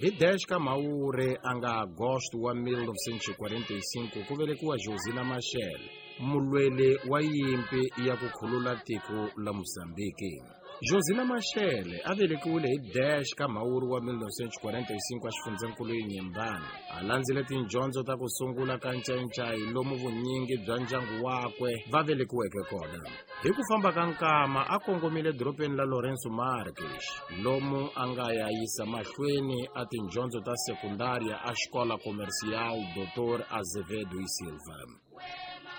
Hi 10 ka Mhawuri a nga Agosto wa 1945 ku velekiwa Josina Machel, mulweli wa yimpi ya ku khulula tiko la Mozambiki. Josina Machel a velekiwile hi 10 ka Mhawuri wa 1945 exifundzhenkulu Inhambane. A landzile tindyondzo ta ku sungula ka Ncayincai lomu vunyingi bya ndyangu wakwe va velekiweke kona. Hi ku famba ka nkama a kongomile dorobeni la Lourenço Marques lomu a nga ya yisa mahlweni a tindyondzo ta sekundaria a Escola Comercial Dr. Azevedo e Silva.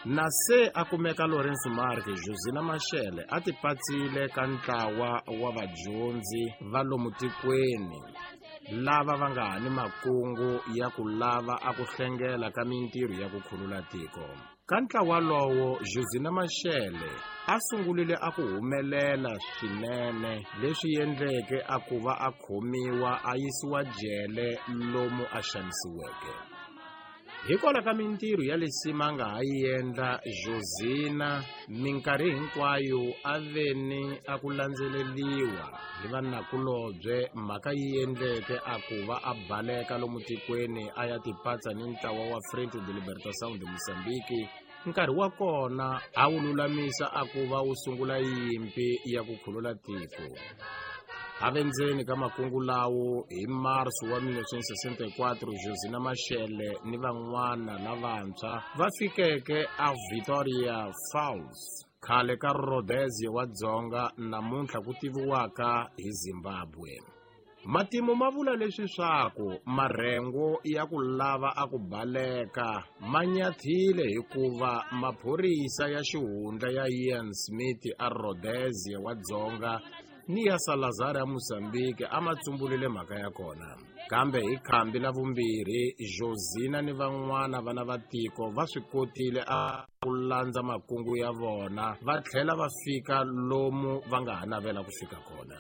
Na se a kumeka Lourenço Marques, Josina Machel a tipatsile ka ntlawa wa vadyondzi va lomu tikweni lava va nga ha ni makungu ya ku lava a ku hlengela ka mintirho ya ku khulula tiko. Ka ntlawa lowo, Josina Machel a sungulile a ku humelela swinene leswi endleke a ku va a khomiwa a yisiwa jele lomu a xanisiweke. Hikwalaho ka mintirho ya lisima a nga ha yi endla, Josina minkarhi hinkwayo a ve ni a ku landzeleriwa hi vanakulobye, mhaka yi endleke a ku va a baleka lomu tikweni a ya tipatsa ni ntlawa wa Frente de Libertação de Moçambique. Nkarhi wa kona a wu lulamisa a ku va wu sungula yimpi ya ku khulula tiko. A ve ndzeni ka makungu lawo hi Marso wa 1964, Josina Machel ni van'wana lavantshwa va fikeke a Victoria Falls, khale ka Rhodesia wa Dzonga, namuntlha ku tiviwaka hi Zimbabwe. Matimu ma vula leswi swaku marhengu ya ku lava a ku baleka ma nyathile hikuva maphorisa ya xihundla ya Ian Smith a Rhodesia wa Dzonga ni ya Salazar ya Mozambique a ma tsumbulile mhaka ya kona. Kambe hi khambi la vumbirhi, Josina ni van'wana vana va tiko va swi kotile a ku landza makungu ya vona va tlhela va fika lomu va nga ha navela ku fika kona.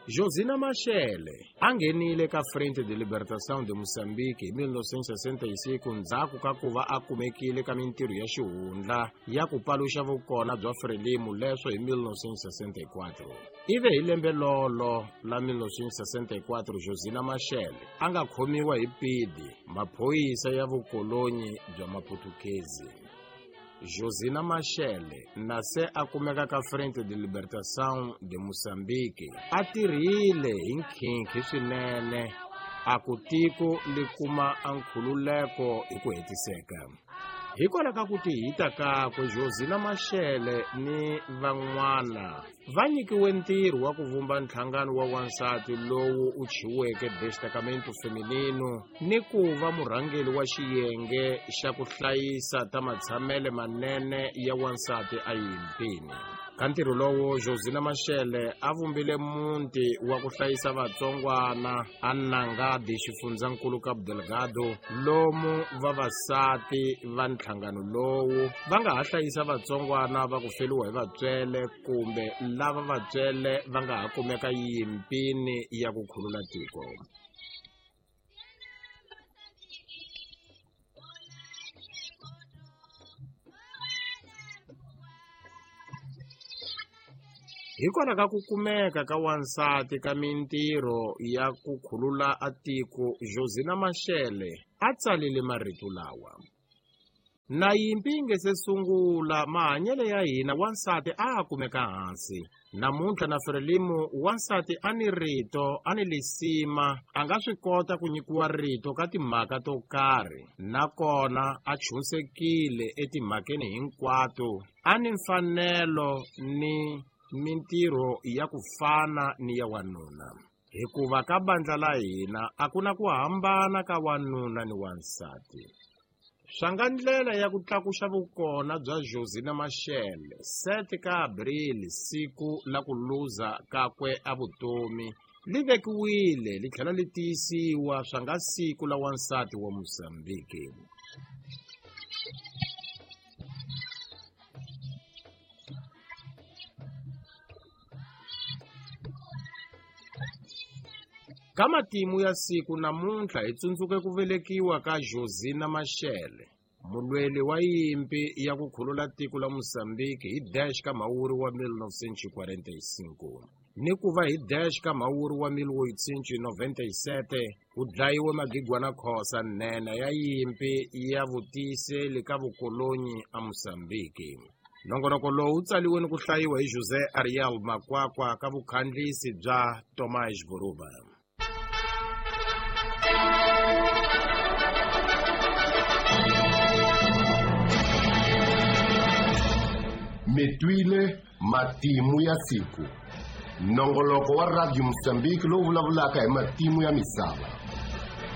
Josina Machel a nghenile ka Frente de Libertação de Moçambique hi 1965 ndzhaku ka ku va a kumekile ka mintirho ya xihundla ya ku paluxa vukona bya Frelimo leswo hi 1964. Ivi hi lembe lolo la 1964 Josina Machel a nga khomiwa hi pidi, maphorisa ya vukolonyi bya Maputukezi. Josina Machel na se a kumeka ka Frente de Libertação de Moçambique a tirhile hi nkhinkhi swinene a ku tiko li kuma a nkhululeko hi ku hetiseka. Hikwalaho ka ku tihita kakwe, Josina Machel ni van'wana va nyikiwe ntirho wa ku vumba nhlangano wa wansati lowu u chiweke Destacamento Feminino ni ku va murhangeri wa xiyenge xa ku hlayisa ta matshamele manene ya wansati eyimpini. Ka ntirho lowo, Josina Machel a vumbile muti wa ku hlayisa vatsongwana a Nangadi, xifundzankulu Cabo Delgado, lomu vavasati va nhlangano lowu va nga ha hlayisa vatsongwana va ku feriwa hi vatswele kumbe lava vatswele va nga ha kumeka yimpini ya ku khulula tiko. Hikwalaho ka ku kumeka ka wansati ka mintirho ya ku khulula a tiko, Josina Machel a tsalile marito lawa: Na yimpi yi nge se sungula, mahanyelo ya hina wansati a a kumeka hansi. Namuntlha na Frelimo wansati a ni rito, a ni lisima, a nga swi kota ku nyikiwa rito ka timhaka to karhi, nakona a chunsekile etimhakeni hinkwato, a ni mfanelo ni mintirho ya ku fana ni ya wanuna. Hikuva ka bandla la hina a ku na ku hambana ka wanuna ni wansati. Swa nga ndlela ya ku tlakuxa vukona bya Josina Machel, 7 ka Abril, siku la ku luza kakwe a vutomi, li vekiwile li tlhela li tiyisiwa swa nga siku la wansati wa Mozambique. Ka matimu ya siku namuntlha hi tsundzuke ku velekiwa ka Josina Machel, mulweli wa yimpi ya ku khulula tiko la Mozambique hi dash ka Mhawuri wa 1945. Ni ku va hi 10 ka Mhawuri wa 1897 ku dlayiwe Magigwana Khosa, nhenha ya yimpi ya vutiyiseli ka vukolonyi a Mozambiki. Nongonoko lowu wu tsaliwe ni ku hlayiwa hi José Ariel Makwakwa ka vukhandlisi bya Tomás Buruba. Mi twile matimu ya siku, nongoloko wa Radio Mozambique lowu vulavulaka hi matimu ya misava.